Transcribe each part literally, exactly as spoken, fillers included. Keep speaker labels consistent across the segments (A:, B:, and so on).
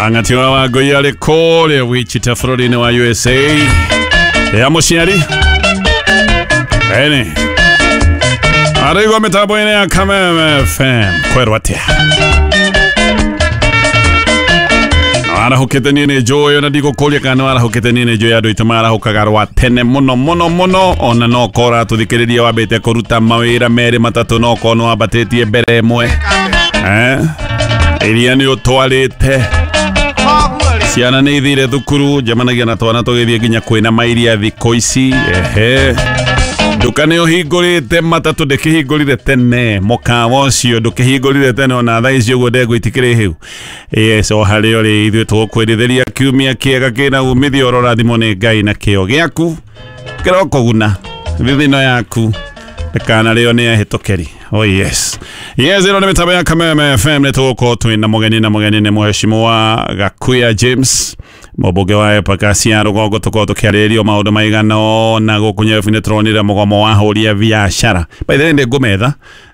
A: Ang'ati wa Wangũi arĩ kũrĩa Wichita bũrũri-inĩ wa U S A. Ya mũciari ene araigua mĩtambo-inĩ ya Kameme F M kwerwo atĩa arahũkĩte niĩ nĩ njũĩ ona ndigũkũria kana nĩ arahũkĩte niĩ nĩ njũĩ andũ aitũ marahũkaga rwa tene mũno mũno mũno ona no korwo ũratũthikĩrĩria wambĩte kũruta mawĩra merĩ matatũ no korwo nĩwambatĩtie mbere ĩmwe eh iria nĩ ũtwarĩte ciana nĩ ithire thukuru njemanagia na twana tũgĩthiĩ nginya kwĩna mairia thikũ ici ehe nduka nĩ ũhingũrĩte matatũ ndĩkĩhingũrire tene mũkawa ũcio ndũkĩhingũrire tene ona thaa ici ũguo ndengũ itikĩrĩ hĩu yes o harĩa ũrĩ ithuĩ tũgũkwĩrithĩria kiumia kĩega kĩna umithio ũrorathimwo nĩ Ngai na kĩo gĩaku kĩrokũguna thithino yaku ndĩkanarĩo nĩ ehĩtũkĩri. Oh yes. Yes, ĩno nĩ mĩtambo ya Kameme F M nĩ tũgũkorwo twĩna mũgeni na mũgeni nĩ Mheshimiwa Gakuya James mũmbunge wa Embakasi ya rũgongo tũkorwo tũkĩarĩrĩrio maũndũ maigana ũna gũkũ Nyebu nĩ tũronire mũgomo wa ahũri a biacara. By the way nĩ ngũmetha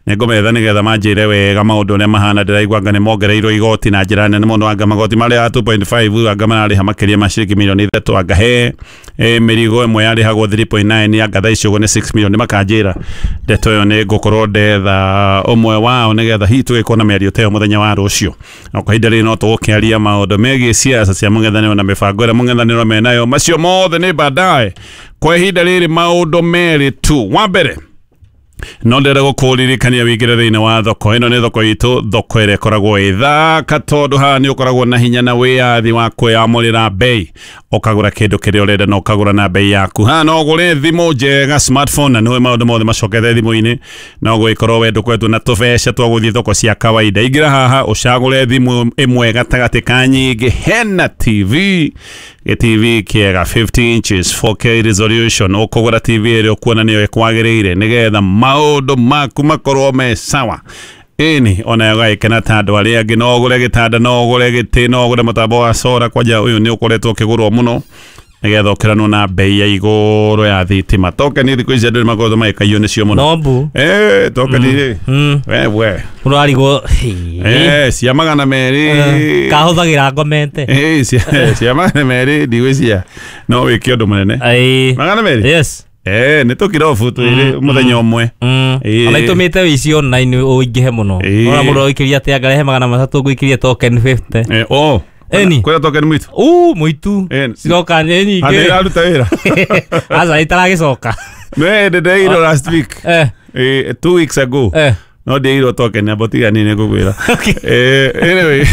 A: nĩ ngũmetha nĩgetha manjĩre wega maũndũ ũrĩa mahana ndĩraigua anga nĩ mongereirwo igoti na njĩra nene mũno anga magoti marĩa two point five anga mararĩha makĩria ma ciringi mirioni ithatũ anga he mĩrigo ĩmwe yarĩhagwo three point nine anga thaa ici ũguo nĩ six million makanjĩra ndeto ĩyo nĩ ngũkorwo ndetha ũmwe wao nĩgetha hihi tũgĩkorwo na mĩario ta ĩyo mũthenya wa rũciũ na kwa ihinda rĩrĩ no tũgũkĩaria maũndũ megiĩ siasa cia mũng'ethanĩro na mĩbango ĩrĩa mũng'ethanĩro menayo macio mothe nĩ baadaye kwa ihinda rĩrĩ maũndũ merĩ tu wa mbere no ndĩrenda gũkũririkania wĩingĩre thĩinĩ wa thoko ĩno nĩ thoko itũ thoko ĩrĩa ĩkoragwo ĩ thaka tondũ haha nĩ ũkoragwo na hinya na wĩyathi wa kwĩyamũrĩra bei ũkagũra kĩndũ kĩrĩa ũrenda na ũkagũra na bei yaku haha no ũgũre thimũ njega smartphone na nĩũĩ maũndũ mothe macokete thimũ-inĩ no gũgĩkorwo we ndũkoretwo na tũbeca twa gũthiĩ thoko cia kawaida ingĩra haha ũcagũre thimũ ĩmwe gatagatĩ ka nyingĩ hena T V T V kĩega fifty inches four K resolution ũkũgũra T V ĩrĩa ũkuona nĩyo ĩkwagĩrĩire nĩgetha maũndũ maku makorwo me sawa ĩni ona ũgagĩkena ta andũ arĩa angĩ no ũgũre gĩtanda no ũgũre gĩtĩ no ũgũre mũtambo wa sora kwanja ũyũ nĩ ũkoretwo ũkĩgũrwo mũno nĩgetha ũkĩranwo na bei ya igũrũ ya thitima tokeni thikũ ici andũ nĩ makoretwo magĩkaiywo nĩcio mũno
B: nombu
A: eh tokeni rĩ we we
B: ũrarigwo
A: eh cia magana merĩ
B: kahũthagĩra ngomete
A: eh cia cia magana merĩ ndigwĩciria no wĩke ũndũ mũnene magana merĩ
B: yes
A: eh nĩ tũkirobu twĩrĩ mũthenya ũmwe
B: ona itũmĩte wĩici online ũingĩhe mũno ona mũndũ oikĩria atĩ angarehe magana matatũ ngũikĩrie token fifty
A: eh oh
B: Eni.
A: Kwĩna token mwitu
B: uu mwitu ciroka nĩ nyingĩ
A: Andĩ iraruta wĩra
B: aca itaragĩcoka
A: nĩ ndĩreirwo last week
B: eh
A: eh two weeks ago
B: eh
A: no ndĩirwo token abo tiga niĩ nĩ ngũkwĩra eh anyway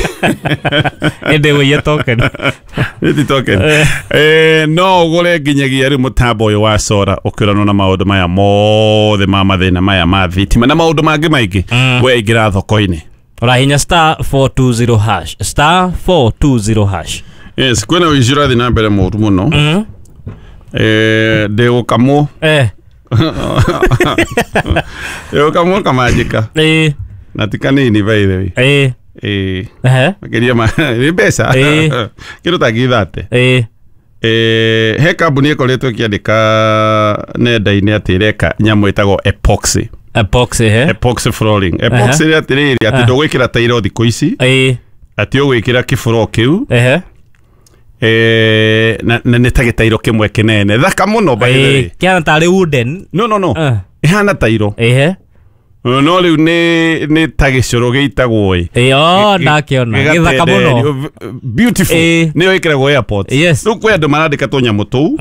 B: ĩndĩ wĩiye token
A: Nĩ token eh no ũgũre nginyagia rĩu mũtambo ũyũ wa sora ũkĩranwo na maũndũ maya mothe ma mathĩna maya ma thitima na maũndũ mangĩ maingĩ we ingĩra thoko-inĩ
B: ũrahinya star four two zero hash star four two zero hash
A: yes kwĩna ũici ũrathiĩ na mbere mũru mũno eh ndĩgũkamwo
B: eh
A: ndĩgũkamwo kamanjĩka
B: eh
A: na ti kanini by the way
B: eh
A: eh
B: ehe
A: makĩria ma nĩ mbeca kĩndũ ta ngiri thate
B: eh
A: eh he kambuni ĩkoretwo ĩkĩandĩka nenda-inĩ atĩ ĩreka nyamũ ĩtagwo epoxy
B: epoxy he
A: epoxy flooring epoxy nĩ atĩrĩrĩ atĩ ndũgwĩkĩra tairo thikũ ici
B: eh
A: atĩ ũgwĩkĩra kĩbũro kĩu
B: ehe
A: eh na na nĩ ta gĩtairo kĩmwe kĩnene thaka mũno by the way
B: kĩhana tarĩ wooden
A: no no no ĩhana tairo
B: ehe
A: no rĩu nĩ nĩ ta gĩcũrũ gĩitagwo ĩ
B: ĩ oh ndakĩona gĩthaka mũno
A: beautiful nĩyo ĩkĩragwo airport
B: yes
A: rĩu kwĩ andũ marandĩka tũnyamũ tũu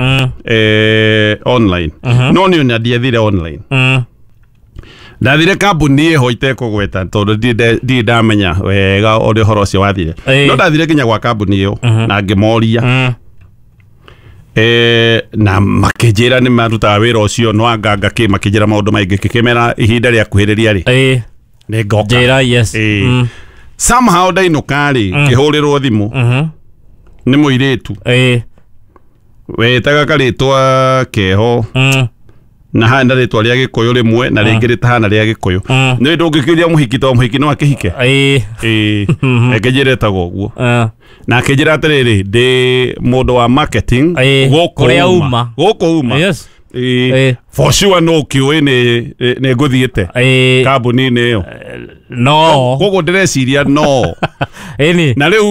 A: eh online no niĩ ona ndiathire online ndathire kambuni ĩho itekũgweta tondũ ndirĩ ndamenya wega ũrĩa ũhoro ũcio wathire no ndathire nginya gwa kambuni ĩyo na ngĩmoria eh na makĩnjĩra nĩ marutaga wĩra ũcio no anganga kĩ makĩnjĩra maũndũ maingĩ kĩkĩmera ihinda rĩa kuhĩrĩria rĩ
B: ĩ
A: nĩ ngoka
B: njĩra yes
A: ĩ somehow ndainũka rĩ ngĩhũrĩrwo thimũ nĩ mũirĩtu
B: ĩ
A: wetaga karĩtwa keho na hana rĩtwa rĩa gĩkũyũ rĩmwe na rĩngĩ rĩtahana rĩa gĩkũyũ nĩ ndũngĩkĩria mũhiki to mũhiki no akĩhike
B: ĩ
A: ĩ akĩnjĩra ĩtagwo ũguo na akĩnjĩra atĩrĩrĩ ndĩ mũndũ wa marketing
B: Ĩ,
A: gũkũ
B: kũrĩa
A: uma
B: uma.
A: gũkũ uma
B: yes
A: Ĩĩ.
B: Ĩĩ.
A: For sure no kĩũĩ nĩ nĩ ngũthiĩte
B: Ĩĩ.
A: kambuni-inĩ ĩyo.
B: No.
A: Koguo ndĩreciria no
B: Ĩni.
A: Na rĩu